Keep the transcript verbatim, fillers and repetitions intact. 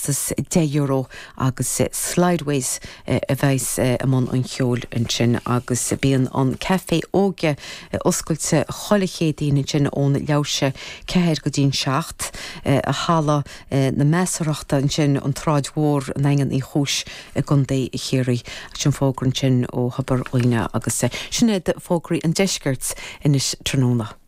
costas deich euro agus Slideways a bheas i mbun an cheoil ansin agus bíonn an café óige oscailte chuile Chéadaoin ansin ón leathuair ceathair go dtí'n seacht a halla na measarthachta ansin an tSráid Mhór an Daingean Uí Chúis i gContae Chiarraí sin fógra ansin ó Thobar Dhuibhne agus sin iad fógraí an deiscirt anois tráthnóna.